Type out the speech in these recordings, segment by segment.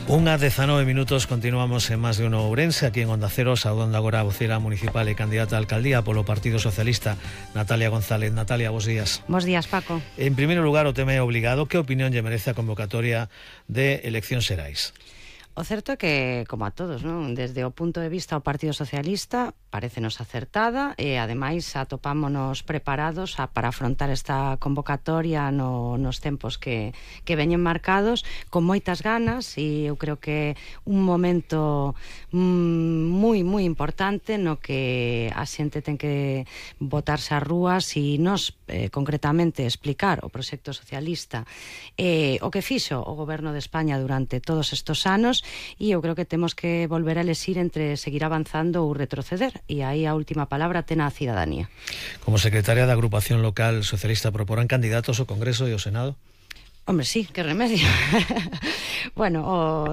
1:19, continuamos en Más de Uno Ourense, aquí en Onda Cero, saudando agora a vocera municipal e candidata a alcaldía polo Partido Socialista, Natalia González. Natalia, bos días. Bos días, Paco. En primeiro lugar, o tema é obligado. Que opinión lle merece a convocatoria de eleccións xerais? O certo é que, como a todos, non? Desde o punto de vista do Partido Socialista parécenos acertada e, ademais, atopámonos preparados para afrontar esta convocatoria nos tempos que veñen marcados con moitas ganas, e eu creo que un momento moi importante no que a xente ten que botarse ás rúas e nos, concretamente, explicar o proxecto socialista, o que fixo o Goberno de España durante todos estes anos. E eu creo que temos que volver a elexir entre seguir avanzando ou retroceder, e aí a última palabra ten a cidadanía. Como secretaria da agrupación local socialista, proporán candidatos ao Congreso e ao Senado? Hombre, sí, que remedio. Bueno,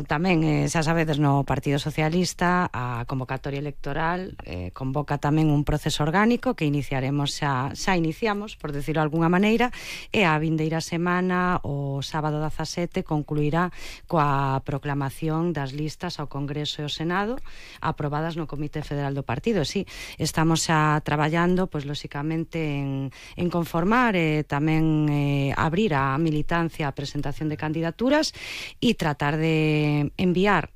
tamén, xa sabedes, no Partido Socialista a convocatoria electoral convoca tamén un proceso orgánico que iniciaremos, xa iniciamos, por decirlo de alguna maneira, e a vindeira semana, o sábado 17, concluirá coa proclamación das listas ao Congreso e ao Senado aprobadas no Comité Federal do Partido. Sí, estamos xa traballando, pois, lóxicamente, en conformar e tamén abrir a militancia a presentación de candidaturas e tratar de enviar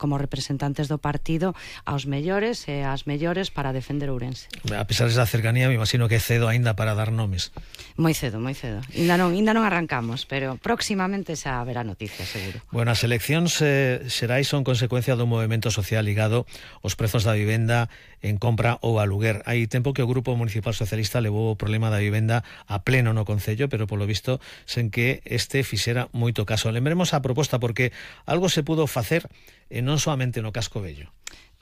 como representantes do partido aos mellores e ás mellores para defender Ourense. A pesar desa cercanía, me imagino que é cedo aínda para dar nomes. Moi cedo. Ainda non arrancamos, pero próximamente xa haberá noticias, seguro. Bueno, as eleccións xerais son consecuencia dun movimento social ligado aos prezos da vivenda en compra ou aluguer. Hai tempo que o Grupo Municipal Socialista levou o problema da vivenda a pleno no Concello, pero polo visto sen que este fixera moito caso. Lembremos a proposta, porque algo se pudo facer e non soamente no Casco Vello.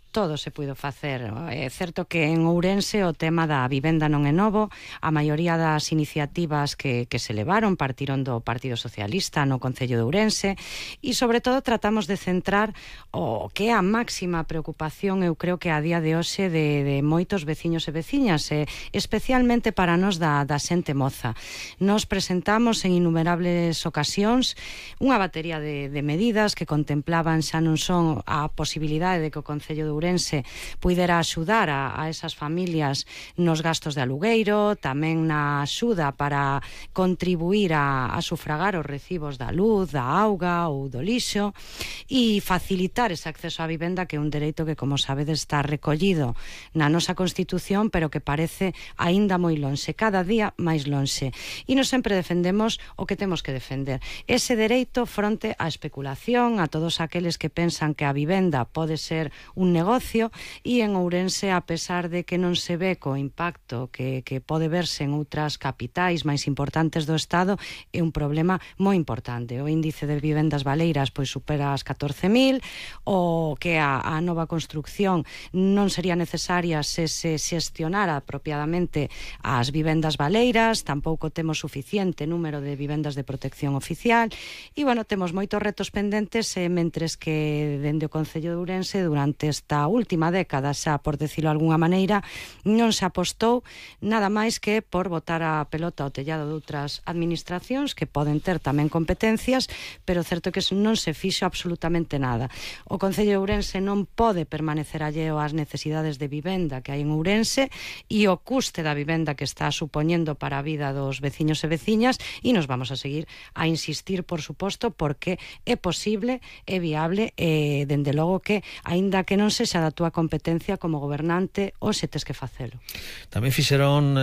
Todo se puido facer. É certo que en Ourense o tema da vivenda non é novo. A maioría das iniciativas que se levaron partiron do Partido Socialista no Concello de Ourense, e sobre todo tratamos de centrar o que é a máxima preocupación, eu creo que a día de hoxe, de moitos veciños e veciñas, especialmente para nós da xente moza. Nos presentamos en innumerables ocasións unha batería de medidas que contemplaban xa non son a posibilidade de que o Concello de Ourense puidera axudar a esas familias nos gastos de alugueiro, tamén na axuda para contribuir a sufragar os recibos da luz, da auga ou do lixo, e facilitar ese acceso á vivenda, que é un dereito que, como sabedes, está recollido na nosa Constitución, pero que parece aínda moi lonxe, cada día máis lonxe. E nos sempre defendemos o que temos que defender, ese dereito fronte á especulación, a todos aqueles que pensan que a vivenda pode ser un negocio, e en Ourense, a pesar de que non se ve co impacto que pode verse en outras capitais máis importantes do Estado, é un problema moi importante. O índice de vivendas baleiras pois supera as 14.000, o que a nova construcción non sería necesaria se xestionara apropiadamente as vivendas baleiras, tampouco temos suficiente número de vivendas de protección oficial, e, bueno, temos moitos retos pendentes, mentres que dende o Concello de Ourense durante esta última década, xa por decirlo de alguna maneira, non se apostou nada máis que por botar a pelota ao tellado de outras administracións que poden ter tamén competencias, pero certo que non se fixo absolutamente nada. O Concello de Ourense non pode permanecer alleo ás necesidades de vivenda que hai en Ourense e o custe da vivenda que está supoñendo para a vida dos veciños e veciñas, e nos vamos a seguir a insistir, por suposto, porque é posible, é viable, e dende logo que, aínda que non sexa da túa competencia como gobernante, hoxe tes que facelo. Tamén fixeron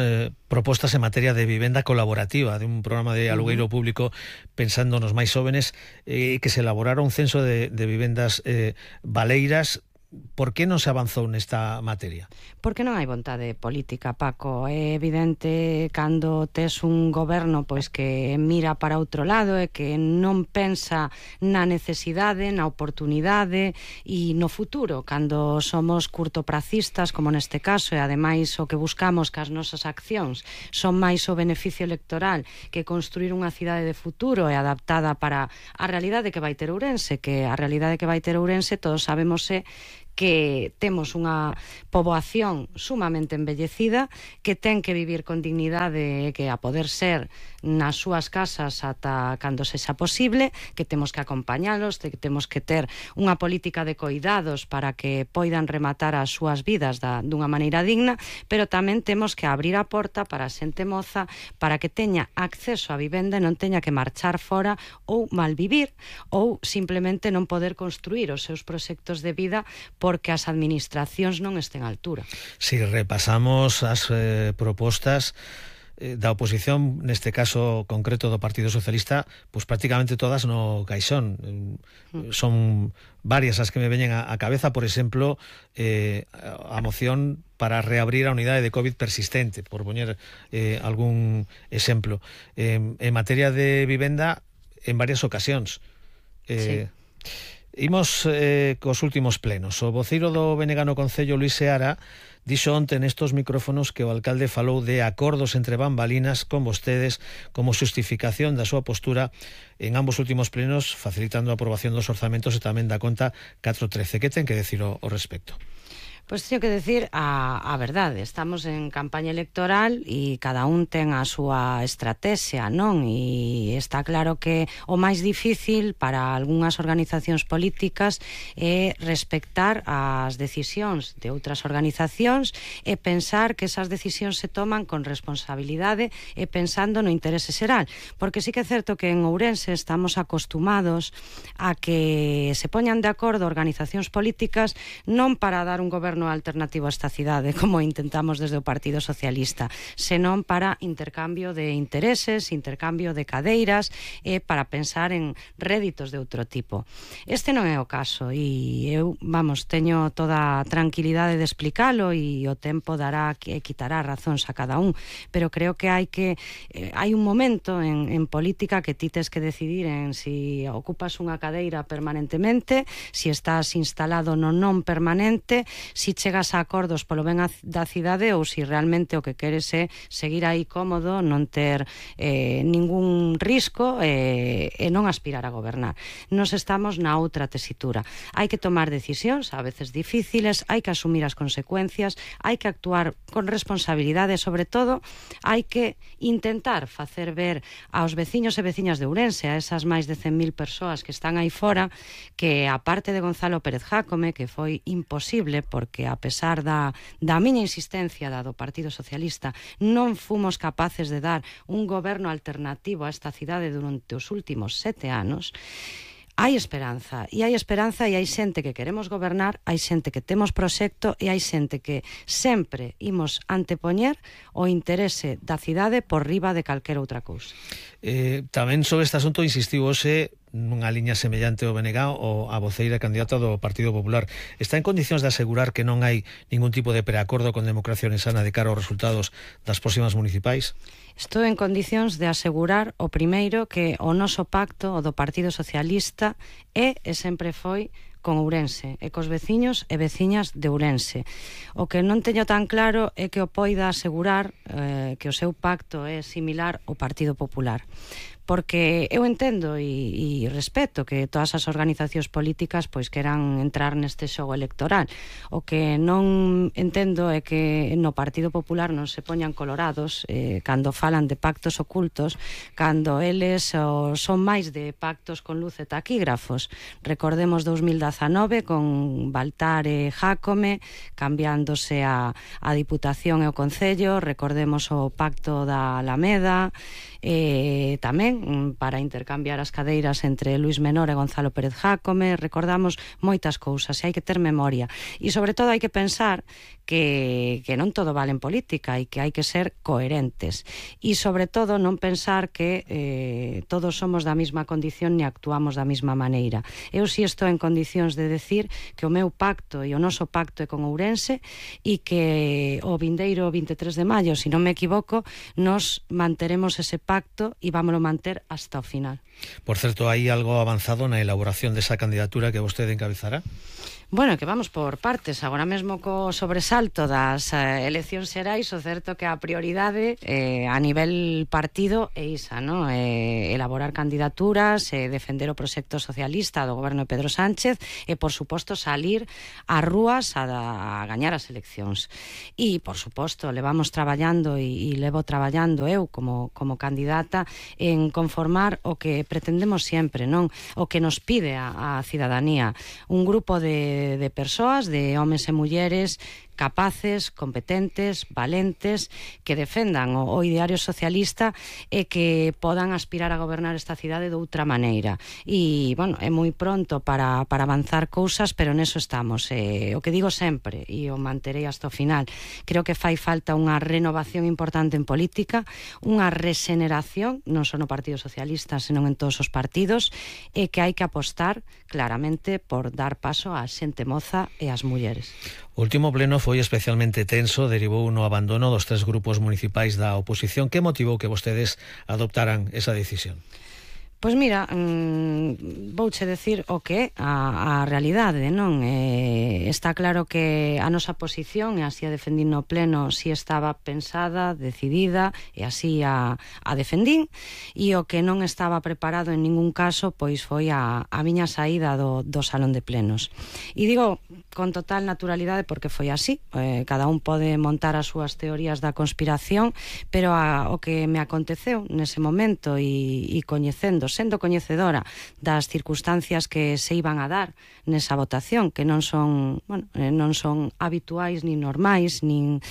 propostas en materia de vivenda colaborativa, de un programa de alugueiro público pensando nos máis jóvenes, que se elaborara un censo de vivendas baleiras. Por que non se avanzou nesta materia? Porque non hai vontade política, Paco. É evidente cando tes un goberno pois que mira para outro lado e que non pensa na necesidade, na oportunidade e no futuro. Cando somos curtopracistas, como neste caso, e ademais o que buscamos que as nosas accións son máis o beneficio electoral que construir unha cidade de futuro e adaptada para a realidade que vai ter Ourense, que a realidade que vai ter Ourense todos sabemos que temos unha poboación sumamente envellecida, que ten que vivir con dignidade, que a poder ser nas súas casas ata cando sexa posible, que temos que acompañalos, que temos que ter unha política de coidados para que poidan rematar as súas vidas dunha maneira digna, pero tamén temos que abrir a porta para a xente moza, para que teña acceso á vivenda e non teña que marchar fora ou malvivir ou simplemente non poder construir os seus proxectos de vida porque as administracións non estén á altura. Si repasamos as propostas da oposición, neste caso concreto do Partido Socialista, pois prácticamente todas no caixón. Son varias as que me veñen á cabeza, por exemplo, a moción para reabrir a unidade de COVID persistente, por poñer algún exemplo. En materia de vivenda, en varias ocasións. Sí. Imos cos últimos plenos. O voceiro do BNG no Concello, Luís Seara, dixo onte nestos micrófonos que o alcalde falou de acordos entre bambalinas con vostedes como xustificación da súa postura en ambos últimos plenos, facilitando a aprobación dos orzamentos e tamén da conta 413. Que ten que decir ao respecto? Pois teño que decir a verdade, estamos en campaña electoral e cada un ten a súa estrategia, non? E está claro que o máis difícil para algunhas organizacións políticas é respectar as decisións de outras organizacións e pensar que esas decisións se toman con responsabilidade e pensando no interese xeral, porque sí que é certo que en Ourense estamos acostumados a que se poñan de acordo organizacións políticas non para dar un goberno alternativo a esta cidade, como intentamos desde o Partido Socialista, senón para intercambio de intereses, intercambio de cadeiras e para pensar en réditos de outro tipo. Este non é o caso e eu, teño toda a tranquilidade de explicalo e o tempo dará que quitará razóns a cada un, pero creo que hai un momento en política que ti tes que decidir en si ocupas unha cadeira permanentemente, si estás instalado no non permanente, si chegas a acordos polo ben da cidade ou si realmente o que queres é seguir aí cómodo, non ter ningún risco e non aspirar a gobernar. Nos estamos na outra tesitura. Hai que tomar decisións, a veces difíciles, hai que asumir as consecuencias, hai que actuar con responsabilidade, sobre todo hai que intentar facer ver aos veciños e veciñas de Ourense, a esas máis de 100.000 persoas que están aí fora, que a parte de Gonzalo Pérez Jácome, que foi imposible porque a pesar da miña insistencia do Partido Socialista non fomos capaces de dar un goberno alternativo a esta cidade durante os últimos 7 anos. Hai esperanza e hai xente que queremos gobernar, hai xente que temos proxecto e hai xente que sempre imos antepoñer o interese da cidade por riba de calquera outra cousa. Tamén sobre este asunto insistiu hoxe nunha liña semellante ao BNG ou a voceira candidata do Partido Popular. Está en condicións de asegurar que non hai ningún tipo de preacordo con Democracia Ourensana de cara aos resultados das próximas municipais? Estou en condicións de asegurar o primeiro que o noso pacto, o do Partido Socialista, é e sempre foi con Ourense e cos veciños e veciñas de Ourense. O que non teño tan claro é que o poida asegurar que o seu pacto é similar ao Partido Popular. Porque eu entendo e respeto que todas as organizacións políticas pois queran entrar neste xogo electoral. O que non entendo é que no Partido Popular non se poñan colorados cando falan de pactos ocultos, cando eles son máis de pactos con luz e taquígrafos. Recordemos 2019 con Baltar e Jácome cambiándose a Diputación e o Concello, recordemos o pacto da Alameda, tamén para intercambiar as cadeiras entre Luís Menor e Gonzalo Pérez Jácome. Recordamos moitas cousas e hai que ter memoria e sobre todo hai que pensar que non todo vale en política e que hai que ser coherentes e sobre todo non pensar que todos somos da mesma condición ni actuamos da mesma maneira. Eu si estou en condicións de decir que o meu pacto e o noso pacto é con Ourense e que o vindeiro 23 de maio, se non me equivoco, nos manteremos ese pacto pacto e vámolo manter hasta o final. Por certo, hai algo avanzado na elaboración desa candidatura que vostede encabezará? Bueno, que vamos por partes. Agora mesmo co sobresalto das eleccións xerais, o certo que a prioridade a nivel partido é isa, non? Elaborar candidaturas, defender o proxecto socialista do goberno de Pedro Sánchez e, por suposto, salir ás rúas a gañar as eleccións. E, por suposto, levamos traballando e levo traballando eu como candidata en conformar o que pretendemos sempre, non? O que nos pide a cidadanía. Un grupo de persoas, de homes e mulleres capaces, competentes, valentes, que defendan o ideario socialista e que podan aspirar a gobernar esta cidade de outra maneira. E, bueno, é moi pronto para avanzar cousas, pero neso estamos. O que digo sempre, e o manterei hasta o final, creo que fai falta unha renovación importante en política, unha regeneración, non só no Partido Socialista, senón en todos os partidos, e que hai que apostar claramente por dar paso á xente moza e ás mulleres. O último pleno foi especialmente tenso, derivou no abandono dos 3 grupos municipais da oposición. Que motivou que vostedes adoptaran esa decisión? Pois mira, vouche decir o que é a realidade, non? Está claro que a nosa posición, e así a defendín no pleno, si estaba pensada, decidida, e así a defendín, e o que non estaba preparado en ningún caso, pois foi a miña saída do salón de plenos. E digo con total naturalidade porque foi así. Cada un pode montar as súas teorías da conspiración, pero o que me aconteceu nese momento e coñecendo, sendo coñecedora das circunstancias que se iban a dar nesa votación, que non son, bueno, non son habituais nin normais, nin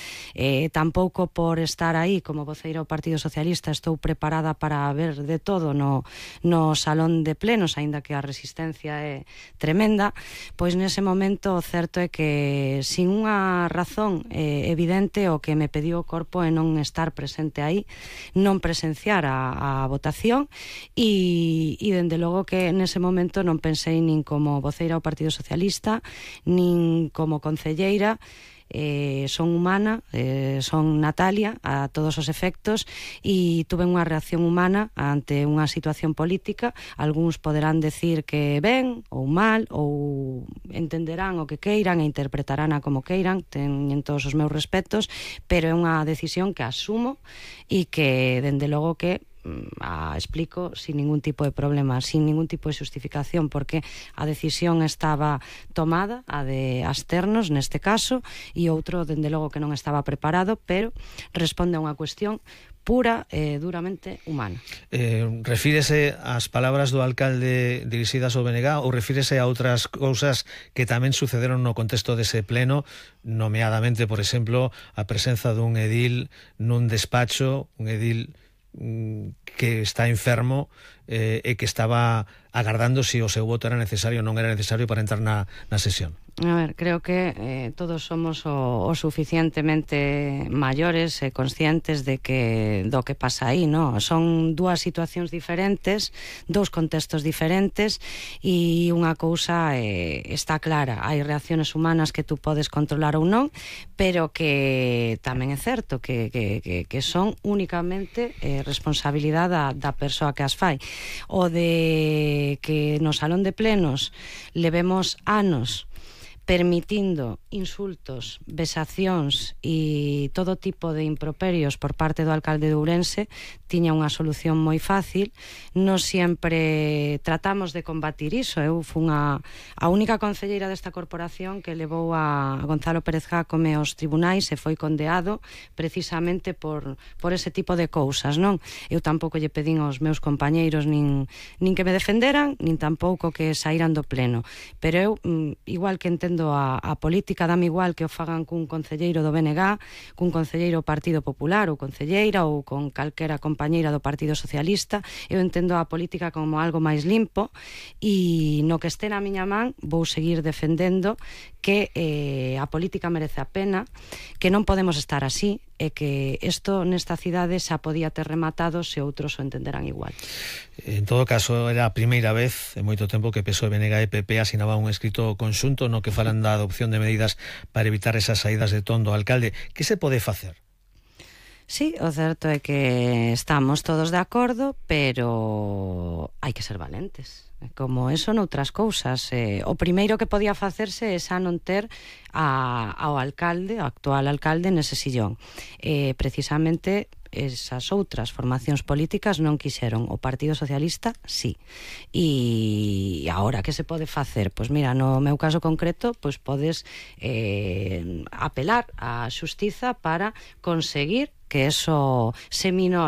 tampouco por estar aí como voceira do Partido Socialista estou preparada para ver de todo no salón de plenos, aínda que a resistencia é tremenda. Pois nese momento o certo é que sin unha razón evidente o que me pediu o corpo é non estar presente aí, non presenciar a votación e dende logo que nese momento non pensei nin como voceira ao Partido Socialista nin como concelleira. Son humana, son Natalia a todos os efectos e tuve unha reacción humana ante unha situación política. Algúns poderán decir que ben ou mal, ou entenderán o que queiran e interpretarán a como queiran, teñen todos os meus respetos, pero é unha decisión que asumo e que dende logo que explico sin ningún tipo de problema, sin ningún tipo de xustificación, porque a decisión estaba tomada, a de Asternos neste caso, e outro dende logo que non estaba preparado, pero responde a unha cuestión pura e duramente humana. Refírese ás palabras do alcalde dirixidas ao BNG ou refírese a outras cousas que tamén sucederon no contexto dese pleno, nomeadamente, por exemplo, a presenza dun edil nun despacho, un edil que está enfermo e que estaba agardando se o seu voto era necesario ou non era necesario para entrar na sesión? A ver, creo que todos somos o suficientemente maiores e conscientes de que do que pasa aí, non? Son dúas situacións diferentes, dous contextos diferentes e unha cousa está clara, hai reacciones humanas que tú podes controlar ou non, pero que tamén é certo que son únicamente responsabilidade da persoa que as fai. O de que no salón de plenos levemos anos permitindo insultos, vexacións e todo tipo de improperios por parte do alcalde de Ourense, tiña unha solución moi fácil. Nos sempre tratamos de combatir iso. Eu fun a única concelleira desta corporación que levou a Gonzalo Pérez Jácome aos tribunais e foi condeado precisamente por ese tipo de cousas, non? Eu tampouco lle pedín aos meus compañeiros nin que me defenderan, nin tampouco que saíran do pleno. Pero eu, igual que entendo a política, dame igual que o fagan cun concelleiro do BNG, cun concelleiro do Partido Popular ou concelleira ou con calquera compañeira do Partido Socialista. Eu entendo a política como algo máis limpo e no que este na miña man vou seguir defendendo que a política merece a pena, que non podemos estar así e que isto nesta cidade xa podía ter rematado se outros o entenderan igual. En todo caso, era a primeira vez en moito tempo que PSOE, BNG e PP asinaba un escrito conxunto no que falan da adopción de medidas para evitar esas saídas de ton do alcalde. Que se pode facer? Sí, o certo é que estamos todos de acordo, pero hai que ser valentes. Como eso noutras cousas. O primeiro que podía facerse é xa non ter ao alcalde, ao actual alcalde, nese sillón. Precisamente esas outras formacións políticas non quixeron. O Partido Socialista, sí. E agora, que se pode facer? Pois mira, no meu caso concreto, pois podes apelar á xustiza para conseguir que eso se minore